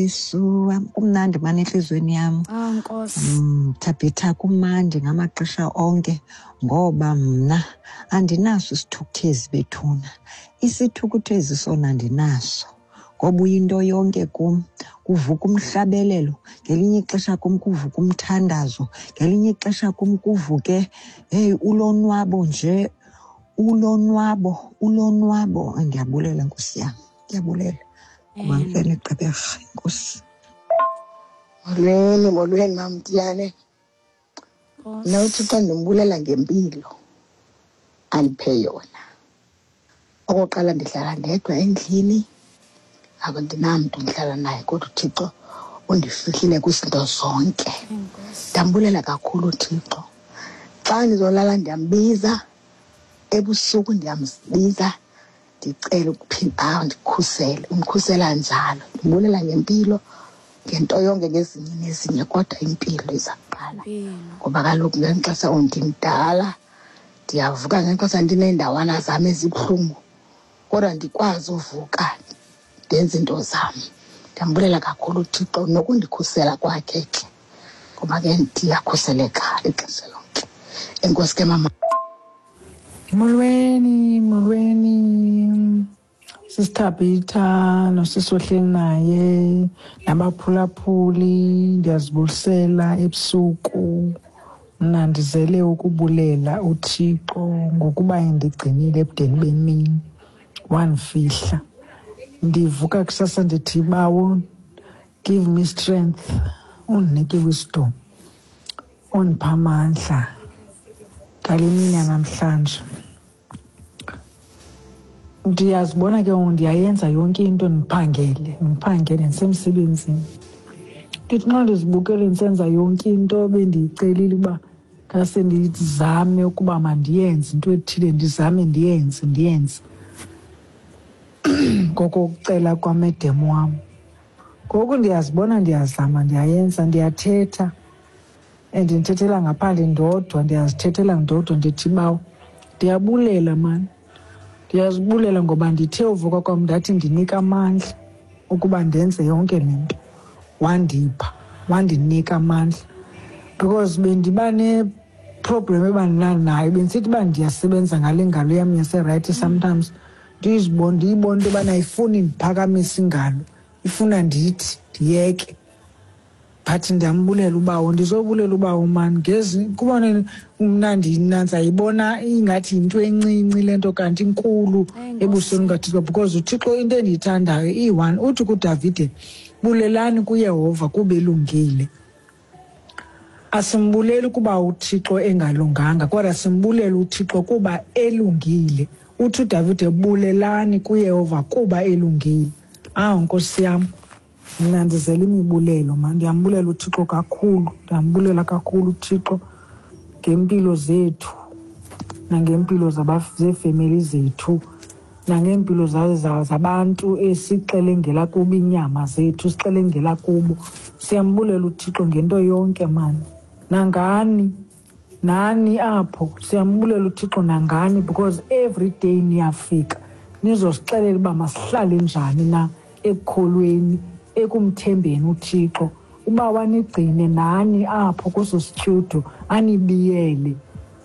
Yesu wam, kumnandi mani entliziyweni yam. Ah, Nkosi. Thabitha, kumandi ngamaxesha onke ngoba mna andinaso isithukuthezi bethuna. Isithukuthezi sona andinaso ngoba uyinto yonke kum. Kuvuka umhlabelelo, ngelinye ixesha kum kuvuka umthandazo, ngelinye ixesha kum kuvuke heyi ulonwabo nje, ulonwabo, ulonwabo. Ndiyabulela Nkosi yam, ndiyabulela. Kumamfene Gqeberha, enkosi. Molweni, molweni MaMtiyane. Mna uThixo ndimbulela ngempilo andiphe yona. Okokuqala ndihlala ndedwa endlini, akundinamntu ndihlala naye kodwa uThixo undifihlile kwizinto zonke. Ndambulela kakhulu uThixo. Xa ndizolala ndiyambiza, ebusuku ndiyambiza ndicele ukuphinda andikhusele. Undikhusela njalo. Ndimbulela ngempilo, ngento yonke, ngezinye nezinye, kodwa impilo iza kuqala. Ngoba kaloku ngeli xesha ndimdala, ndiyavuka ngeli xesha ndineendawana zam ezibuhlungu, kodwa ndikwazi uvuka ndenze iinto zam. Ndiyambulela kakhulu uThixo nokundikhusela kwakhe ke, ngoba ke ndiyakhuseleka ixesha lonke. Enkosi ke mama. Molweni, molweni. Sisi Thabitha nosisi ohleli naye nabaphulaphuli, ndiyazibulisela ebusuku. Mna ndizele ukubulela uThixo ngokuba endigcinile ebudeni bemini, wandifihla. Ndivuka kusasa ndithi, Bawo, give me strength, undinike wisdom, undiphe amandla ngale mini yanamhlanje. Ndiyazibona ke ngoku ndiyayenza yonke into, ndiphangele, ndiphangele ndisemsebenzini. Ndithi nxa ndizibukele ndisenza yonke into bendiyicelile uba ngase ndizame ukuba mandiyenze into ethile, ndizame ndiyenze, ndiyenze ngokokucela kwamedem wam. Ngoku ndiyazibona ndiyazama, ndiyayenza, ndiyathetha and ndithethela ngaphandle ndodwa, ndiyazithethela ndodwa, ndithi Bawo, ndiyabulela mani. Ndiyazibulela ngoba ndithe uvuka kwam ndathi ndinika amandla ukuba ndenze yonke le nto. Wandipha, wandinika amandla because bendiba ne-problem ebandinanayo, bendisithi uba ndiyasebenza ngale ngalo yam yaserayithi sometimes ndiyibone into yobana ayifuni ndiphakamise ingalo, ifuna ndithi ndiyeke. But ndiyambulela uBawo, ndizobulela uBawo mani ngezi kubona mna ndinantsa yibona ingathi yinto encinci le nto kanti inkulu ebusweni bukaThixo, because uThixo into endiyithandayo iyi-one. Uthi kuDavide, bulelani kuYehova kuba elungile. Asimbuleli kuba uThixo engalunganga, kodwa simbulela uThixo kuba elungile. Uthi uDavide, bulelani kuYehova kuba elungile. Awu Nkosi yam, mna ndizele imibulelo mani. Ndiyambulela uThixo kakhulu, ndiyambulela kakhulu uThixo ngempilo zethu nangempilo zeefemeli zethu nangeempilo zabantu esixelengela kubo iinyama zethu, sixelengela kubo. Siyambulela uThixo ngento yonke mani. Nangani, nani apho, siyambulela uThixo nangani, because every day niyafika nizosixelela uba masihlale njani na ekukholweni, ekumthembeni uThixo. Uba wanigcine nani apho kweso sityudu, anibiyele.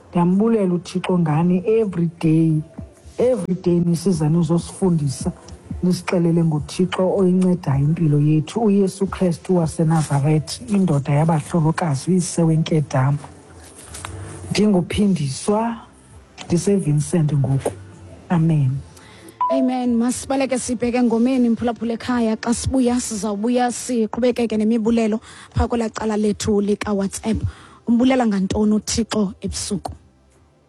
Ndiyambulela uThixo ngani every day. Every day nisiza nizosifundisa, nisixelele ngoThixo oyincedayo impilo yethu, uYesu Krestu waseNazaretha, indoda yabahlolokazi, uyise wenkedama. Ndinguphindiswa, ndiseVincent ngoku. Amen. Amen. Masibaleke sibheke engomeni, mphulaphula ekhaya. Xa sibuya sizawubuya siqhubekeke nemibulelo phaa kwelaa cala lethu likaWhatsApp. Umbulela ngantoni uThixo ebusuku?